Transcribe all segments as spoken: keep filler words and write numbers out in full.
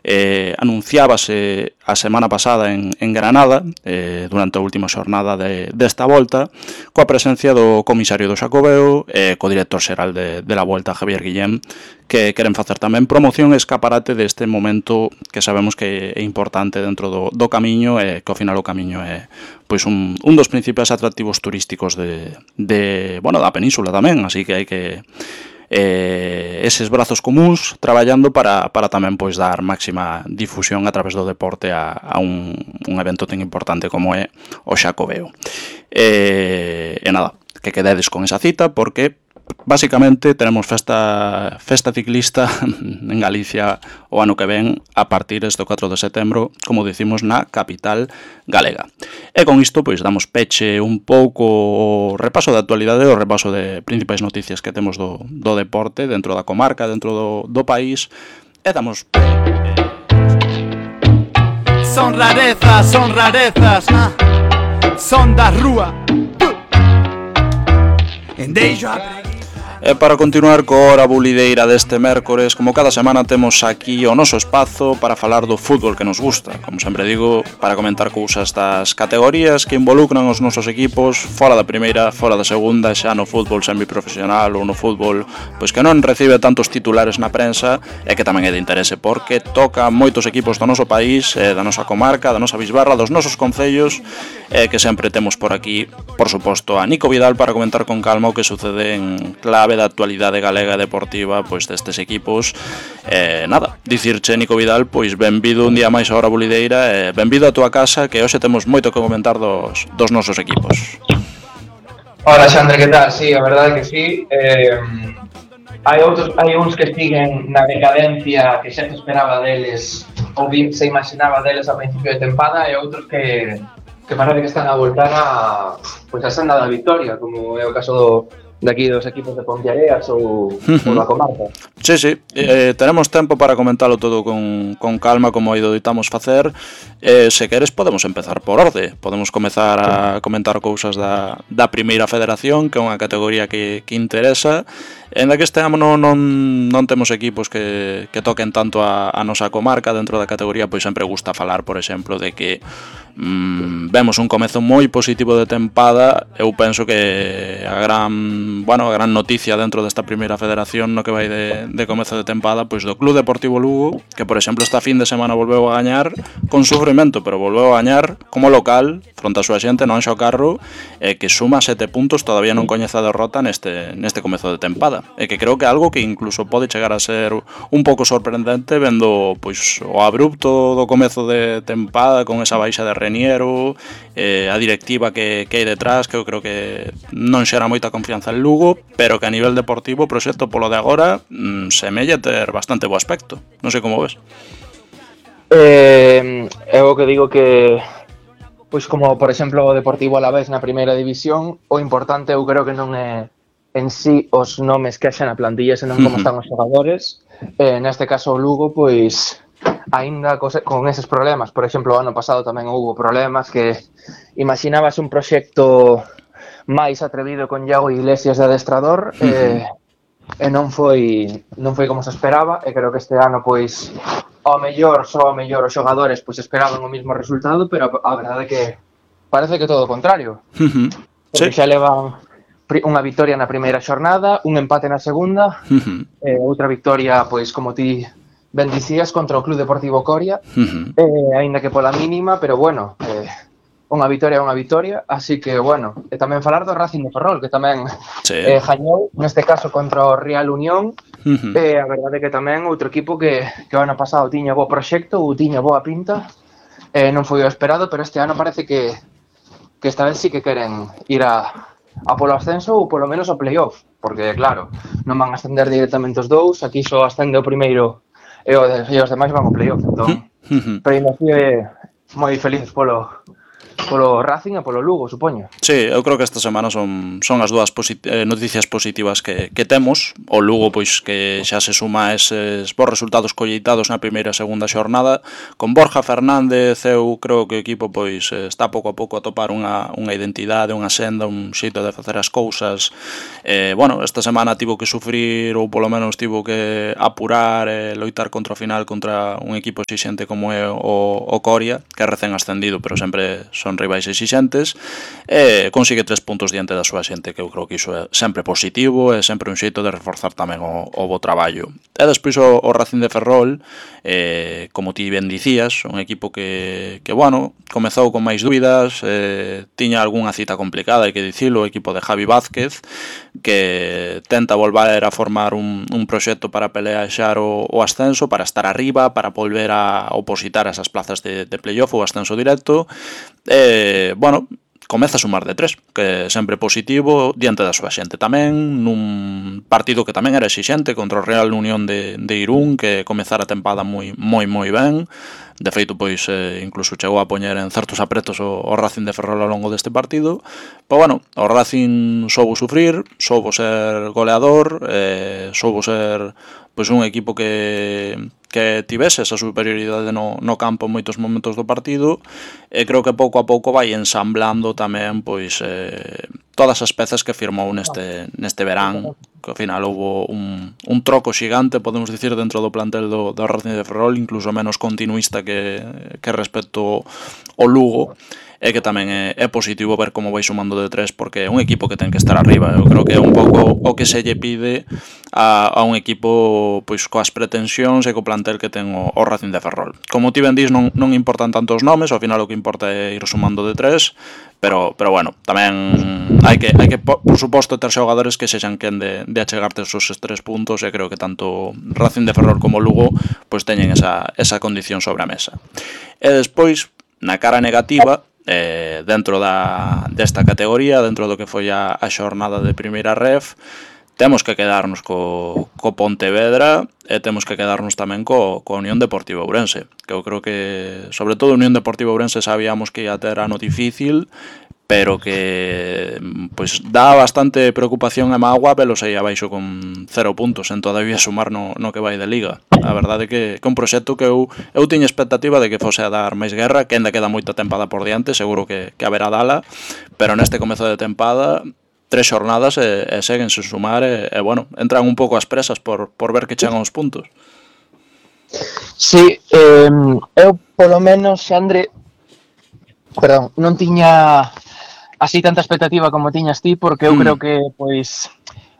Eh, anunciábase a semana pasada en, en Granada, eh, durante a última xornada de, desta volta, coa presencia do comisario do Xacobeo e eh, co director xeral de, de la Volta, Javier Guillén, que queren facer tamén promoción e escaparate deste momento que sabemos que é importante dentro do, do camiño e que ao final o camiño é pois un, un dos principais atractivos turísticos de, de, bueno, da península tamén, así que hai que eh, eses brazos comuns traballando para, para tamén pois dar máxima difusión a través do deporte a, a un, un evento tan importante como é o Xacobeo. E, e nada, que quededes con esa cita porque basicamente tenemos festa festa ciclista en Galicia o ano que ven a partir do catro de setembro, como dicimos, na capital galega. E con isto pois damos peche un pouco o repaso da actualidade, o repaso de principais noticias que temos do, do deporte dentro da comarca, dentro do, do país, e damos Son rarezas, son rarezas, ah. Son da rúa. Endeixo a E para continuar coa hora bulideira deste mércores, como cada semana temos aquí o noso espazo para falar do fútbol que nos gusta. Como sempre digo, para comentar cousas das categorías que involucran os nosos equipos fora da primeira, fora da segunda, xa no fútbol semiprofesional ou no fútbol pois que non recibe tantos titulares na prensa e que tamén é de interese porque toca moitos equipos do noso país, da nosa comarca, da nosa bisbarra, dos nosos concellos, e que sempre temos por aquí, por suposto, a Nico Vidal para comentar con calma o que sucede en clave da actualidade galega deportiva pois destes equipos. Eh, nada, dicirche, Nico Vidal, pois benvido un día máis a hora bulideira e benvido a túa casa, que hoxe temos moito que comentar dos, dos nosos equipos. Hola, Xandre, que tal? Sí, a verdade que sí. Eh, hai outros, hai uns que siguen na decadencia que xa se esperaba deles ou bien se imaginaba deles a principio de tempada e outros que que parece que están a voltar a pois a senda da victoria, como é o caso do de aquí dos equipos de Ponteareas ou, uh-huh. ou da comarca. Sí, sí, eh, tenemos tempo para comentarlo todo con, con calma como aí doitamos facer. Eh, se queres podemos empezar por orde. Podemos comezar a comentar cousas da, da primeira federación, que é unha categoría que, que interesa. En la que este ano non, non, non temos equipos que, que toquen tanto a, a nosa comarca dentro da categoría, pois sempre gusta falar, por exemplo, de que mm, vemos un comezo moi positivo de tempada. Eu penso que a gran, bueno, a gran noticia dentro desta primeira federación no que vai de, de comezo de tempada, pois do Club Deportivo Lugo, que por exemplo esta fin de semana volveu a gañar con sufrimento, pero volveu a gañar como local fronte a súa xente no Anxo Carro, e que suma sete puntos, todavía non coñece a derrota neste, neste comezo de tempada. E que creo que é algo que incluso pode chegar a ser un pouco sorprendente vendo pois o abrupto do comezo de tempada con esa baixa de Reniero, eh, a directiva que, que hai detrás, que eu creo que non xera moita confianza en Lugo, pero que a nivel deportivo o proxecto polo de agora mm, semella ter bastante bo aspecto. Non sei como ves. Eh, é o que digo que pois como por exemplo o Deportivo Alavés na primeira división, o importante eu creo que non é en sí os nomes que haxa na plantilla, senón como están os xogadores. Eh, neste caso o Lugo, pois, aínda con eses problemas, por exemplo, o ano pasado tamén houve problemas que imaginabas un proxecto máis atrevido con Iago Iglesias de adestrador, eh, e non foi non foi como se esperaba, e creo que este ano, pois, ao mellor, só ao mellor os xogadores pois esperaban o mesmo resultado, pero a verdade é que parece que todo o contrario. Porque xa levan unha victoria na primeira xornada, un empate na segunda, uh-huh. e outra victoria, pois, como ti ben dicías, contra o Club Deportivo Coria, uh-huh. eh, aínda que pola mínima, pero bueno, eh, unha victoria é unha victoria, así que, bueno, e tamén falar do Racing de Ferrol, que tamén sí. eh, gañou, neste caso, contra o Real Unión, uh-huh. e a verdade é que tamén outro equipo que, que o ano pasado tiña bo proxecto, ou tiña boa pinta, eh, non foi o esperado, pero este ano parece que, que esta vez sí que queren ir a... a polo ascenso ou polo menos ao playoff, porque claro, non van a ascender directamente os dous, aquí só ascende o primeiro e, e os demais van ao playoff, entón, uh-huh. pero ainda así é moi felices polo polo Racing e polo Lugo, supoño. Sí, eu creo que esta semana son, son as dúas posit eh, noticias positivas que, que temos. O Lugo, pois, que xa se suma a eses bons resultados colleitados na primeira e segunda xornada. Con Borja Fernández, eu creo que o equipo pois está pouco a pouco a topar unha, unha identidade, unha senda, un xeito de facer as cousas. Eh, bueno, esta semana tivo que sufrir, ou polo menos tivo que apurar e eh, loitar contra o final contra un equipo exixente como é o, o Coria, que é recén ascendido, pero sempre son rivais exixentes, e consigue tres puntos diante da súa xente, que eu creo que iso é sempre positivo e sempre un xeito de reforzar tamén o, o bo traballo. E despois o, o Racing de Ferrol, eh, como ti ben dicías, un equipo que, que bueno, comezou con máis dúbidas, eh, tiña algunha cita complicada, hai que dicilo, o equipo de Javi Vázquez, que tenta volver a formar un, un proxecto para pelear o, o ascenso, para estar arriba, para volver a opositar a esas plazas de, de playoff ou ascenso directo. E, bueno, comeza a sumar de tres, que é sempre positivo diante da súa xente tamén, nun partido que tamén era exixente contra o Real Unión de, de Irún, que comezara a tempada moi moi moi ben. De feito, pois, eh, incluso chegou a poñer en certos apretos o, o Racing de Ferrol ao longo deste partido. Pero, bueno, o Racing soubo sufrir, soubo ser goleador, eh, soubo ser pois un equipo que, que tivese esa superioridade no, no campo en moitos momentos do partido, e creo que pouco a pouco vai ensamblando tamén pois eh, todas as pezas que firmou neste, neste verán, que ao final houve un, un troco xigante, podemos dicir, dentro do plantel do, do Racing de Ferrol, incluso menos continuista que, que respecto ao Lugo, e que tamén é, é positivo ver como vai sumando de tres, porque é un equipo que ten que estar arriba. Eu creo que é un pouco o que se lle pide a, a un equipo pois coas pretensións e co plantel que ten o, o Racing de Ferrol. Como ti ben dis, non, non importan tanto os nomes, ao final o que importa é ir sumando de tres, pero, pero bueno, tamén hai que, hai que por, por suposto, ter xogadores que sexan quen de, de achegarte esos tres puntos, e creo que tanto Racing de Ferrol como Lugo pois teñen esa, esa condición sobre a mesa. E despois, na cara negativa, Eh, dentro da, desta categoría, dentro do que foi a, a xornada de primeira ref, temos que quedarnos co, co Pontevedra, e temos que quedarnos tamén co, co Unión Deportiva Ourense, que eu creo que, sobre todo, Unión Deportiva Ourense sabíamos que ia ter ano difícil, pero que pois dá bastante preocupación e mágoa velos aí abaixo con cero puntos en todavía sumar no, no que vai de Liga. A verdade é que, que un proxecto que eu, eu tiña expectativa de que fose a dar máis guerra, que ainda queda moita tempada por diante, seguro que, que haberá dala, pero neste comezo de tempada tres xornadas e, e seguen sen sumar e, e bueno, entran un pouco as presas por, por ver que chegan os puntos. Sí, eh, eu polo menos, Xandre, perdón, non tiña así tanta expectativa como tiñas ti, porque eu mm. creo que pois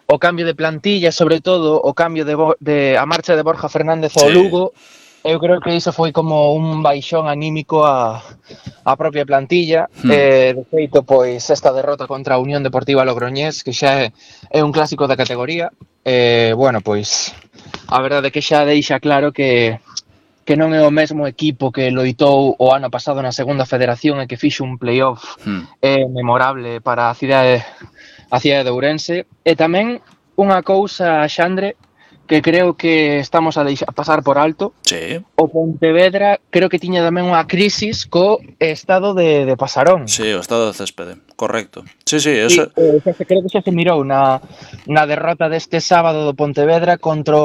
o cambio de plantilla, sobre todo o cambio de, de a marcha de Borja Fernández ao sí. Lugo, eu creo que iso foi como un baixón anímico a, a propia plantilla. Mm. Eh, de feito, pois esta derrota contra a Unión Deportiva Logroñés, que xa é, é un clásico da categoría, eh, bueno, pois a verdade é que xa deixa claro que que non é o mesmo equipo que loitou o ano pasado na segunda federación e que fixo un playoff hmm. eh, memorable para a cidade, a cidade de Ourense. E tamén unha cousa, Xandre, que creo que estamos a, deixar, a pasar por alto. Sí. O Pontevedra creo que tiña tamén unha crisis co estado de, de Pasarón. Sí, o estado de céspede, correcto. Sí, sí, eso... Sí, eh, se, creo que xa se mirou na, na derrota deste sábado do Pontevedra contra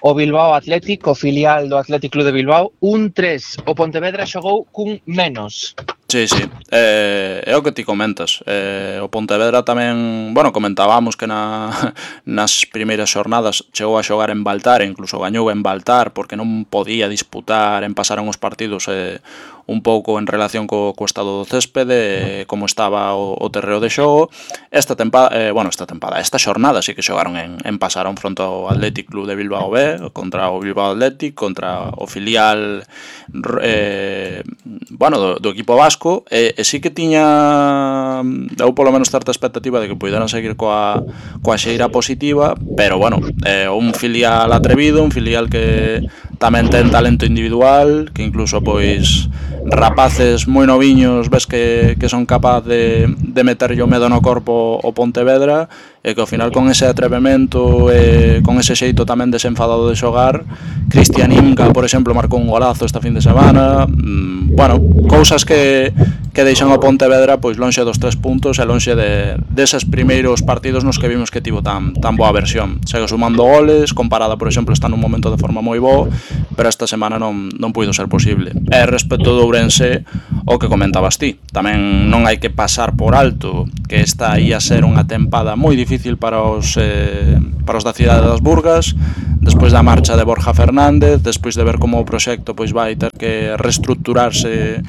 o Bilbao Athletic, o filial do Athletic Club de Bilbao, un tres. O Pontevedra xogou cun menos. Sí, sí, eh, é o que ti comentas. Eh, o Pontevedra tamén, bueno, comentábamos que na, nas primeiras xornadas chegou a xogar en Baltar, e incluso gañou en Baltar porque non podía disputar, en pasaron os partidos eh, un pouco en relación co, co estado do céspede, eh, como estaba o, o terreo de xogo. Esta tempada, eh, bueno, esta tempada, esta xornada sí que xogaron en, en Pasaron fronte ao Athletic Club de Bilbao B, contra o Bilbao Athletic, contra o filial eh, bueno, do, do equipo vasco, e, e sí que tiña eu polo menos certa expectativa de que poideran seguir coa, coa xeira positiva, pero bueno, eh, un filial atrevido, un filial que tamén ten talento individual, que incluso pois rapaces moi noviños ves que, que son capaz de, de meterlle o medo no corpo o Pontevedra, e que ao final con ese atrevemento e con ese xeito tamén desenfadado de xogar, Cristian Inca, por exemplo, marcou un golazo esta fin de semana. mm, bueno, cousas que que deixan o Pontevedra pois lonxe dos tres puntos e lonxe de, deses primeiros partidos nos que vimos que tivo tan, tan boa versión. Segue sumando goles, comparada, por exemplo, está nun momento de forma moi bo, pero esta semana non, non puido ser posible. E respecto do Ourense, o que comentabas ti, tamén non hai que pasar por alto que esta ia ser unha tempada moi difícil para os, eh, para os da cidade das Burgas, despois da marcha de Borja Fernández, despois de ver como o proxecto pois vai ter que reestructurarse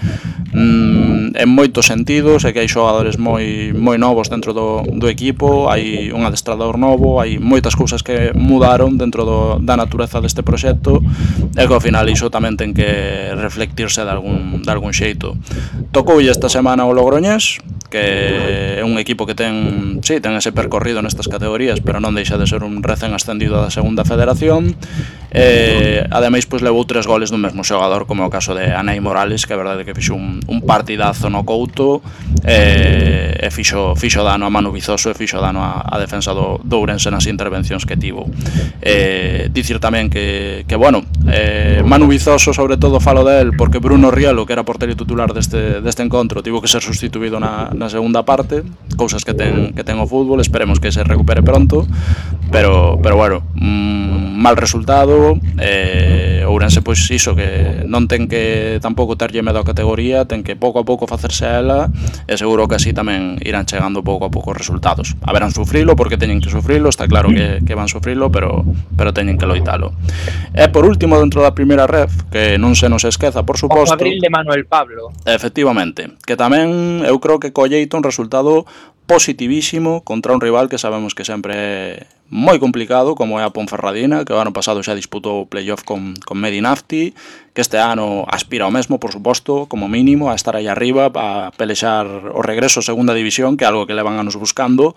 mm, en moitos sentidos, e que hai xogadores moi moi novos dentro do, do equipo, hai un adestrador novo, hai moitas cousas que mudaron dentro do, da natureza deste proxecto, e que ao final iso tamén ten que reflectirse de algún, de algún xeito. Tocoulle esta semana o Logroñés, que é un equipo que ten, sí, ten ese percorrido nestas categorías, pero non deixa de ser un recén ascendido da segunda federación. E ademais pois levou tres goles do mesmo xogador, como o caso de Anei Morales, que é verdade que fixo un, un partidazo no Couto, e, e fixo, fixo dano a Manu Vizoso e fixo dano a, a defensa do, do Ourense nas intervencións que tivo. E, dicir tamén que, que bueno, eh, Manu Vizoso sobre todo falo del porque Bruno Rielo, que era porteiro titular deste, deste encontro, tivo que ser sustituído na, na segunda parte, cousas que ten, que ten o fútbol, esperemos que se recupere pronto, pero, pero bueno, mm, mal resultado. eh, Ourense pois iso, que non ten que tampouco terlle medo a categoría, ten que pouco a pouco facerse a ela, e seguro que así tamén irán chegando pouco a pouco os resultados. Haberán sufrilo porque teñen que sufrilo, está claro que, que van sufrilo, pero, pero teñen que loitalo. E por último, dentro da primeira ref, que non se nos esqueza, por suposto, o Fabril de Manuel Pablo, efectivamente, que tamén eu creo que colleito un resultado positivísimo contra un rival que sabemos que sempre é moi complicado, como é a Ponferradina, que o ano pasado xa disputou o playoff con, con Medinafti, que este ano aspira ao mesmo, por suposto, como mínimo, a estar aí arriba, a pelexar o regreso a segunda división, que é algo que levan anos buscando.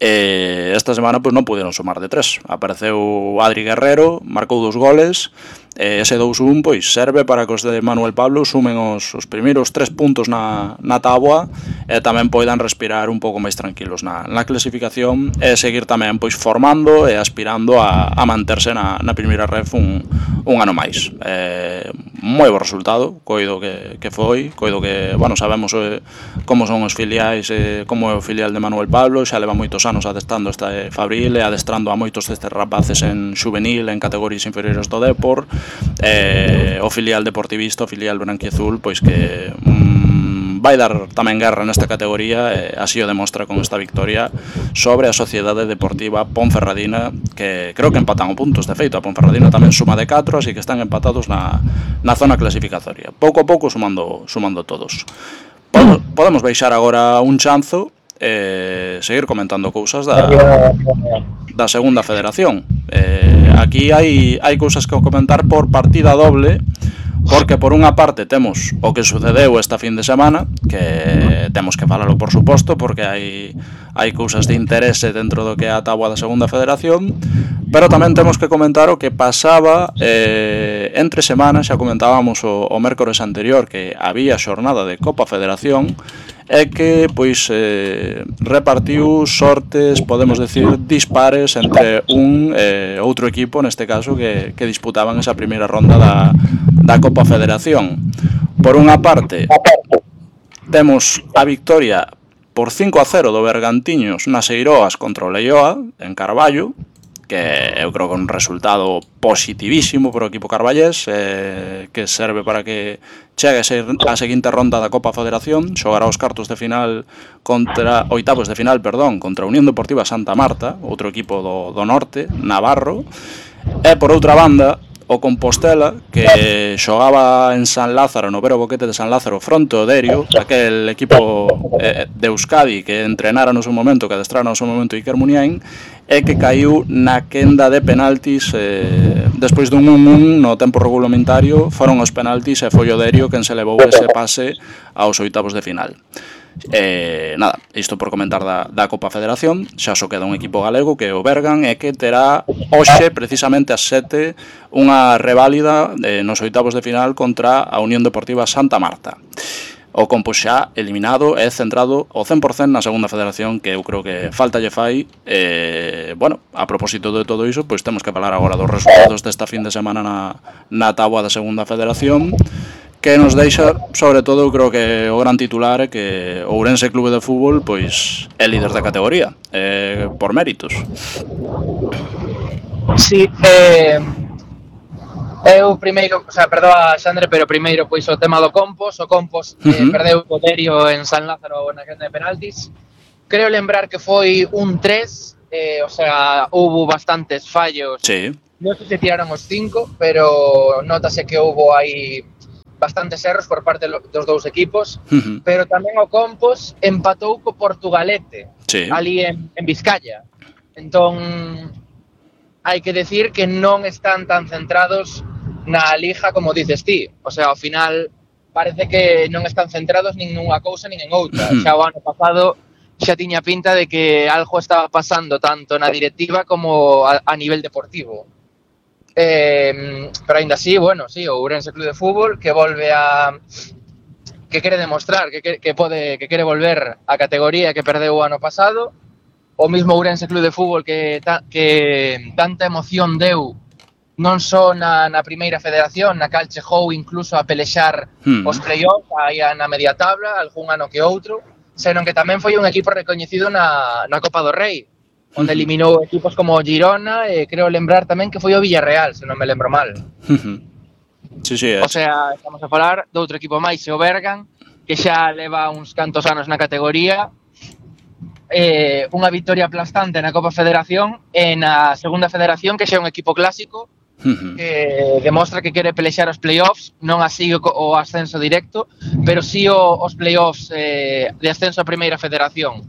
E esta semana pois non puderon sumar de tres. Apareceu Adri Guerrero, marcou dos goles, e ese dous un pois serve para que os de Manuel Pablo sumen os, os primeiros tres puntos na, na táboa, e tamén poidan respirar un pouco máis tranquilos na, na clasificación, e seguir tamén pois formando e aspirando a, a manterse na, na primeira ref un, un ano máis. Eh, moi bo resultado, coido que, que foi, coido que, bueno, sabemos eh, como son os filiais, eh, como é o filial de Manuel Pablo, xa leva moitos anos adestando este Fabril e adestrando a moitos destes rapaces en juvenil, en categorías inferiores do Depor. Eh, o filial deportivista, o filial branquiazul, pois que mm, vai dar tamén guerra nesta categoría, e así o demostra con esta victoria sobre a Sociedade Deportiva Ponferradina, que creo que empatan o puntos, de feito a Ponferradina tamén suma de catro, así que están empatados na, na zona clasificatoria, pouco a pouco sumando, sumando todos. Podemos, podemos baixar agora un chanzo e seguir comentando cousas da, da segunda federación. Eh, aquí hai, hai cousas que comentar por partida doble, porque por unha parte temos o que sucedeu esta fin de semana, que temos que falalo por suposto, porque hai, hai cousas de interese dentro do que é a táboa da segunda federación, pero tamén temos que comentar o que pasaba eh, entre semanas. Xa comentábamos o, o mércores anterior que había xornada de Copa Federación, é que pois eh, repartiu sortes, podemos decir, dispares entre un e eh, outro equipo, neste caso, que, que disputaban esa primeira ronda da, da Copa Federación. Por unha parte, temos a victoria por cinco a cero do Bergantiños nas Eiroas contra o Leioa, en Carballo, que eu creo que é un resultado positivísimo para o equipo carballés, eh, que serve para que chegue a seguinte ronda da Copa Federación. Xogará os cartos de final contra oitavos de final, perdón, contra a Unión Deportiva Santa Marta, outro equipo do, do norte, navarro. E por outra banda, o Compostela, que xogaba en San Lázaro, no Vero Boquete de San Lázaro, fronte ao Derio, aquel equipo eh, de Euskadi que entrenara no seu momento, que adestrara no seu momento Iker Muniain, e que caiu na quenda de penaltis eh, despois dun un un no tempo regulamentario. Foron os penaltis e foi o Derio quen se levou ese pase aos oitavos de final. Eh, nada, isto por comentar da, da Copa Federación. Xa só queda un equipo galego, que é o Bergan, e que terá hoxe, precisamente ás sete, unha reválida eh, nos oitavos de final contra a Unión Deportiva Santa Marta. O Compo xa eliminado e centrado ao cen por cen na segunda federación, que eu creo que falta lle fai. Eh, bueno, a propósito de todo iso, pois temos que falar agora dos resultados desta fin de semana na, na táboa da segunda federación, que nos deixa, sobre todo, eu creo que o gran titular é que o Ourense Clube de Fútbol pois é líder da categoría, eh, por méritos. Sí, eh, eu primeiro, o sea, perdoa Xandre, pero primeiro pois o tema do Compos, o Compos eh, uh-huh. perdeu o Derio en San Lázaro na quenda de penaltis. Creo lembrar que foi un tres, eh, o sea, houve bastantes fallos. Sí. Non sei se tiraron os cinco, pero notase que houve aí bastantes erros por parte dos dous equipos, uh-huh. pero tamén o Compos empatou co Portugalete, sí. ali en, en Vizcaya. Entón, hai que decir que non están tan centrados na Liga como dices ti. O sea, ao final parece que non están centrados nin nunha cousa nin en outra. Uh-huh. Xa o ano pasado xa tiña pinta de que algo estaba pasando tanto na directiva como a, a nivel deportivo. Eh, pero ainda así, bueno, sí, o Ourense Clube de Fútbol que volve a que quere demostrar que, que, que pode que quere volver a categoría que perdeu o ano pasado, o mismo Ourense Clube de Fútbol que, ta, que tanta emoción deu non só na, na primeira federación, na cal chegou incluso a pelexar hmm. os play-offs aí na media tabla, algún ano que outro, senón que tamén foi un equipo recoñecido na, na Copa do Rei, onde eliminou equipos como Girona e creo lembrar tamén que foi o Villarreal, se non me lembro mal. Sí, sí, é. O sea, estamos a falar de outro equipo máis, o Bergan, que xa leva uns cantos anos na categoría, eh, unha victoria aplastante na Copa Federación e na Segunda Federación, que xa é un equipo clásico, que demostra que quere pelexar os play-offs, non así o, o ascenso directo, pero sí o, os play-offs eh, de ascenso a Primeira Federación.